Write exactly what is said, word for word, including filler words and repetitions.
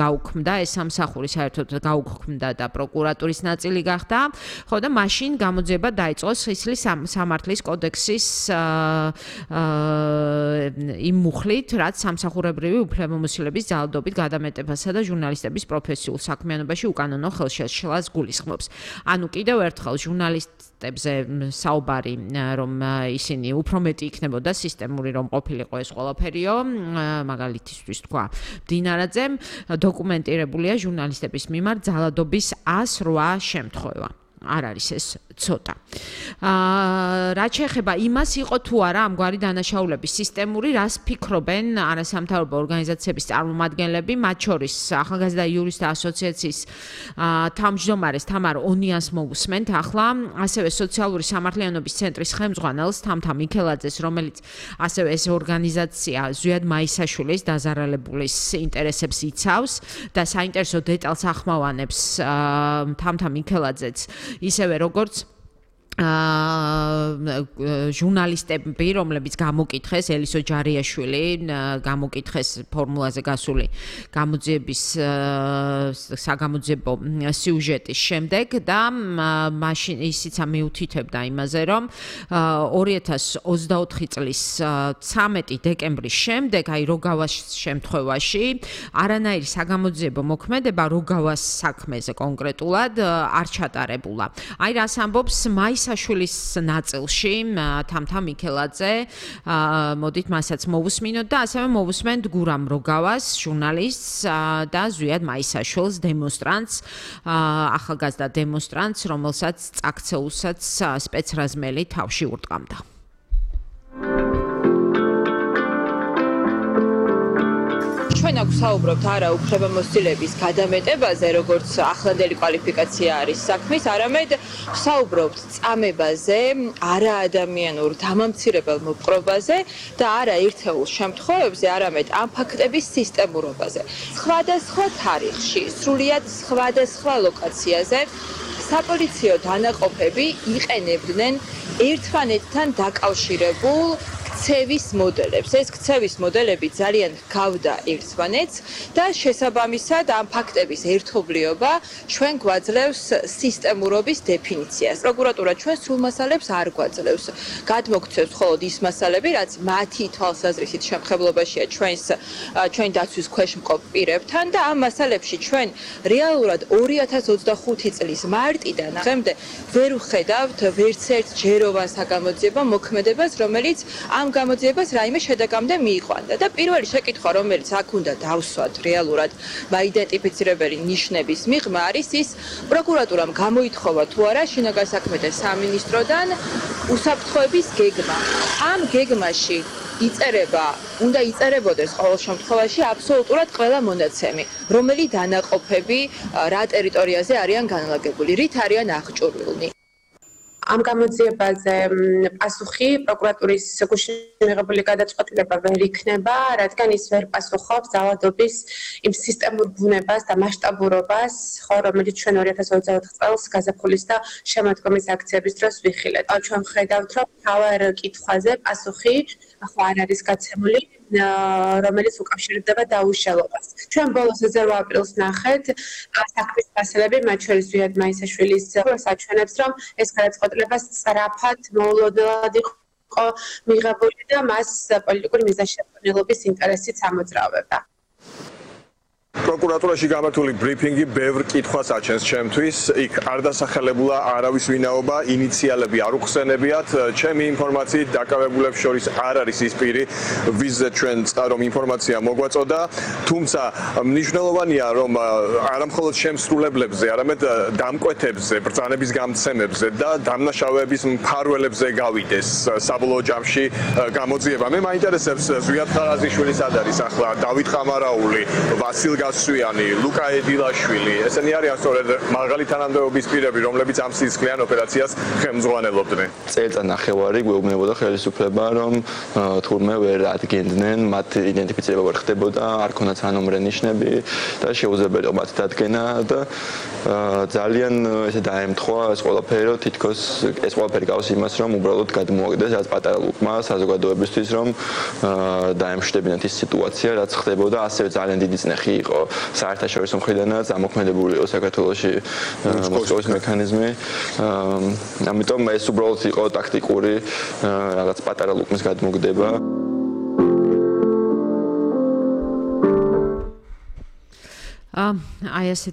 გაუქმდა ეს სამსახური საერთოდ გაუქმდა და პროკურატურის ნაწილი გახდა. ხო და მაშინ გამოძიება დაიწყო სისხლის სამართლის კოდექსის იმ მუხლით, რაც სამსახურებრივი უფლებამოსილების ძალადობით გადამეტებასა და ჟურნალისტების პროფესიულ საქმიანობაში უკანონო ხელშეშლას გულისხმობს. ანუ კიდევ ერთხელ ჟურნალისტებზე საუბარი, რომ ისინი უფრო მეტი იქნებოდა სისტემური, რომ ყოფილიყო ეს ყველაფერიო, მაგალითისთვის თქვა დინარაძემ, დოკუმენტირებულია ჟურნალისტების მიმართ ძალადობის ას რვა შემთხვევა. არ არის ეს ცოტა. აა რაც შეეხება იმას იყო თუ არა ამგვარი დანაშაულების სისტემური, რას ფიქრობენ არასამთავრობო ორგანიზაციების წარმომადგენლები, მათ შორის ახალგაზრდა იურისტთა ასოციაციის თავმჯდომარეს თამარ ონიანს მოვუსმენთ ახლა, ასევე სოციალური სამართლიანობის ცენტრის ხელმძღვანელს თამთა მიქელაძეს, რომელიც ასევე ეს ორგანიზაცია ზვიად მაისაშვილის დაზარალებულის ინტერესებს იცავს და საინტერესო დეტალს ახმოვანებს თამთა მიქელაძეც ისევე როგორც ჟურნალისტები, რომლებიც გამოკითხეს ელისო ჯარიაშვილი, გამოკითხეს ფორმულაზე გასული გამოძიების საგამოძიებო სიუჟეტის შემდეგ და მაშინ ისიცა მიუთითებდა იმაზე, რომ ორი ათას ოცდაოთხი წლის ცამეტი დეკემბრის შემდეგ, აი როგავას შემთხვევაში, არანაირი საგამოძიებო მოქმედება როგავას საქმეზე კონკრეტულად არ ჩატარებულა. აი რას ამბობს მაის საშვილის ნაწილში თამთა მიქელაძე, მოდით მასაც მოვუსმინოთ და ასევე მოვუსმენთ გურამ როგავას, ჟურნალისტს და ზვიად მაისაშვილს, დემონსტრანტს, ახალგაზრდა დემონსტრანტს, რომელსაც წაქცეულსაც სპეცრაზმელი თავში ურტყამდა. ჩვენ აქ საუბრობთ არა უფლებამოსილების გადამეტებაზე, როგორც ახლანდელი კვალიფიკაცია არის საქმის, არამედ საუბრობთ წამებაზე, არაადამიანურ დამამცირებელ მოპყრობაზე და არა ერთეულ შემთხვევებზე, არამედ ამ ფაქტების სისტემურობაზე. სხვადასხვა თარიღში, სრულიად სხვადასხვა ლოკაციაზე საპოლიციო დანაყოფები იყენებდნენ ერთმანეთთან დაკავშირებულ ქცევის მოდელებს. ეს ქცევის მოდელები ძალიან გავდა ერთმანეთს და შესაბამისად ამ ფაქტების ერთობლიობა ჩვენ გვაძლევს სისტემურობის დეფინიციას. პროკურატურა ჩვენ სრულ მასალებს არ გვაძლევს. გადმოგცევს მხოლოდ ის მასალები, რაც მათი თვალსაზრისით შემხებლობაშია ჩვენს ჩვენ დაცვის ქვეშ მყოფ პირებთან და ამ მასალებში ჩვენ რეალურად ორი ათას ოცდახუთი წლის მარტიდან დღემდე ვერ ვხედავთ ვერც ერთ ჯეროვან საგამოძიებო მოქმედებას, რომელიც ამ გამოძიებას რაიმე შედეგამდე მიიყვანდა და პირველი შეკითხვა, რომელიც აქ უნდა დავსვათ რეალურად მაიდენტიფიცირებელი ნიშნების მიღმა არის ის, პროკურატურამ გამოითხოვა თუ არა შინაგან საქმეთა სამინისტროდან უსაფრთხოების გეგმა. ამ გეგმაში იწერება, უნდა იწერებოდეს ყოველ შემთხვევაში აბსოლუტურად ყველა მონაცემი, რომელი დანაყოფები რა ტერიტორიაზე არიან განლაგებული, რით არიან აღჭურვილნი. ამ გამოძიებაზე პასუხი პროკურატურის გუშინ მიღებული გადაწყვეტილება ვერ იქნება, რადგან ის ვერ პასუხობს ძალადობის იმ სისტემურ ბუნებას და მასშტაბურობას, ხო, რომელიც ჩვენ ორი ათას ოცდაოთხ წელს გაზაფხულის და შემოდგომის აქციების დროს ვიხილეთ. ჩვენ ხედავთ, რომ მთავარ კითხვაზე პასუხი ახლა არ არის გაცემული, რომელიც უკავშირდება დაუშალებას. ჩვენ ბოლოს ოცდაოთხ აპრილს ნახეთ საქმის მასალები, მათ შორის ზვიად მაისაშვილის საჩვენებს, რომ ეს გადაწყვეტილება სწრაფად მოულოდნელად იყო მიღებული და მას პოლიტიკური მიზანშეწონილობის ინტერესით ამოძრავებდა. პროკურატურაში გამართული ბრიფინგი ბევრ კითხვას აჩენს ჩემთვის. იქ არ დასახელებულა არავის ვინაობა, ინიციალები არ უხსენებიათ. ჩემი ინფორმაციით დაკავებულებს შორის არ არის ის პირი, ვიზზე ჩვენ წარომ ინფორმაცია მოგვაწოდა, თუმცა მნიშვნელოვანია, რომ არა მხოლოდ შემსრულებლებზე, არამედ დამკვეთებზე, ბრძანების გამცემებზე და დამნაშავეების მფარველებზე გავიდეს საბოლოო ჯამში გამოძიება. მე მაინტერესებს ზვიად ხარაზიშვილის სად არის ახლა, დავით ყამარაული, ვასილ გასვიანი, ლუკა ედილაშვილი, ესენი არიან სწორედ მაღალი თანამდებობის პირები, რომლებიც ამ სისხლიან ოპერაციას ხელმძღვანელობდნენ. წელიწად ნახევარი გვეუბნებოდა ხელისუფლება, რომ თურმე ვერ ადგენდნენ, მათ იდენტიფიცირება ვერ ხდებოდა, არ ქონდათ სანომრე ნიშნები და შეუძლებელია მათ დადგენა და ძალიან ესე დაემთხვა ეს ყველაფერი, რომ თითქოს ეს ყველაფერი გავს იმას, რომ უბრალოდ გადმოაგდეს რაც პატარა ლუკმა საზოგადოებისთვის, რომ დაემშვიდობინათ ის სიტუაცია, რაც ხდებოდა, ასევე ძალიან დიდი წნეხი იყო იყო საერთაშორისო მხრიდანაც ამოქმედებული იყო საქართველოში მოსკოვის მექანიზმი. ამიტომ ეს უბრალოდ იყო ტაქტიკური რაღაც პატარა ლუკმის გადმოგდება. აი ასეთ